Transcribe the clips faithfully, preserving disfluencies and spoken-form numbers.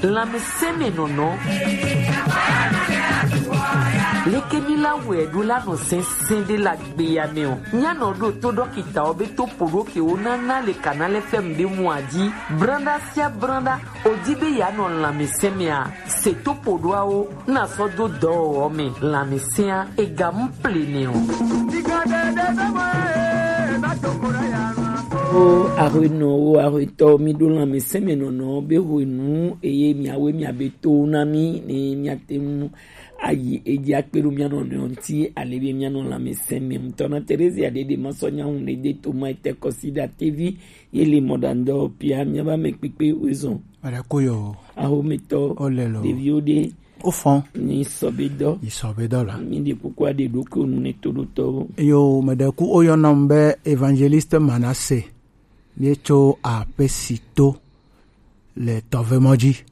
Lanmeseme nɔnɔ. Leke mi la wɛ ɖo la nɔ sɛnsɛn ɖe la gbe ya mɛ o. Mia nɔ ɖo to dɔkita o be to poɖo ke wo na na le kana le fɛm ɖe mu aji. Branda sia branda, o di be ya nɔ lanmeseme a. Se to poɖoawo na sɔ do dɔwɔwɔ mɛ lanmesea ega mu ple nɛ o. O ahwenɔ, o ahwetɔ, mi ɖo lanmeseme nɔnɔ be hwenu eye miawe miabe to na mi ne miate ŋu ayi edzi akpe ɖo mia nɔnɔewo ŋuti ale be mianɔ lanmeseme ŋutɔ na. Terezia ɖeɖe ma sɔ nyawu ne de to ma ete kɔsi ɖa tevi ye le mɔɖaŋdɔ pia miaba me kpekpe wezɔn. Aɖe ko yo. Ahometɔ. Ole lo. Ɖeviwo ɖe. O fɔn. Ni sɔ be dɔ. Ni sɔ be dɔ la. Mi ɖe kuku aɖe ɖo ko nu ne to ɖo tɔwo. Yo, me ɖe ku o yɔnam be Evangeliste Manasse. Míetso aƒe si to le tɔvemɔ dzi.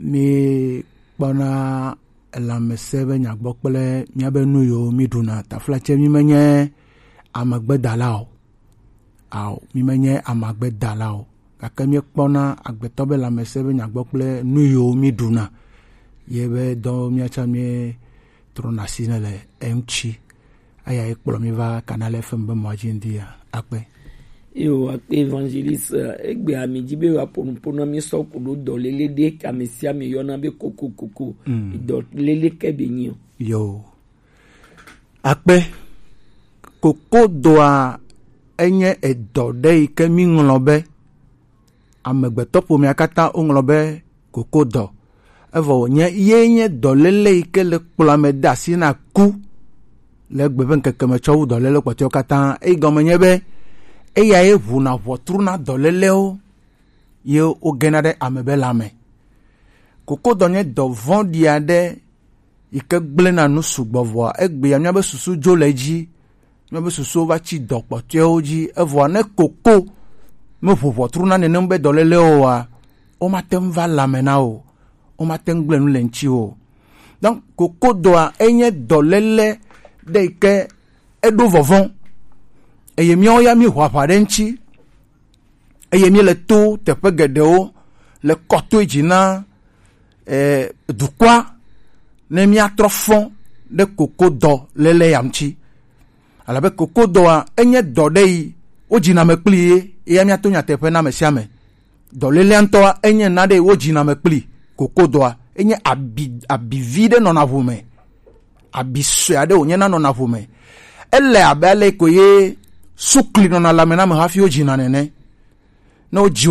Míekpɔna lãmesẽ be nyagbɔ kple míabe nu yiwo míɖuna. Taflatse, mímenye amegbedala o. Ao, mímenye amegbedala o. Gake míekpɔna agbetɔ be lãmesẽ be nyagbɔ kple nu yiwo míɖuna. Ye be dɔ míatsa míetrɔna asi ne le eŋuti. Eya ye kplɔ mi va Canal F M be mɔa dzi ŋdi ya. Akpe. Yo, akpe Evangeliste, egbe ami dzi be wa ƒo nuƒo na mi sɔ ku ɖo dɔlele ɖe ke ame sia ame yɔna be kokokoko. Mm. Dɔlele ke be nyi o. Yo. Akpe. Kokodoa enye edɔ ɖe yi ke mi ŋlɔ be amegbetɔƒomea katã woŋlɔ be kokodɔ. Evɔ wònye ye nye dɔléle yi ke le kplɔa me de asi na ku le egbe ƒe ŋkeke me tsɔ wu dɔléle kpɔtɔewo katã. Eyi gɔme nye be eyae ʋuna ʋɔtru na dɔlélewo ye wogena ɖe ame be lãme. Kokodɔ nye dɔ vɔ̃ɖi aɖe yi ke gblẽna nu sugbɔ vɔa, egbea míabe susu dzo le edzi, míabe susuwo va tsi dɔ kpɔtɔewo dzi, evɔa ne koko meʋu ʋɔtru na nenem be dɔlélewo oa, womate ŋu va lãme na wò, womate ŋu gblẽ nu le ŋutiwò o. Donc, kokodɔa enye dɔléle ɖe yi ke eɖo vɔvɔ̃, eye míawo ya míeʋu aʋa ɖe eŋuti. Eye míele to teƒe geɖewo le kɔtoe dzi na, eh, dukɔa ne míatrɔ fɔ ɖe kokodɔ léle ya ŋuti. Elabe kokodɔa enye dɔ ɖe yi wodzina me kpli ye, eya míato nyateƒe na ame sia ame. Dɔlélea ŋutɔa enye na ɖe yi wodzina me kpli. Kokodɔa enye abi, abi vi ɖe nɔna ʋu me. Abi sue aɖe wònye na nɔna ƒome. Ele abe ale ko ye sukli nɔna lãme na ame hafi wodzina nene. Ne wodzi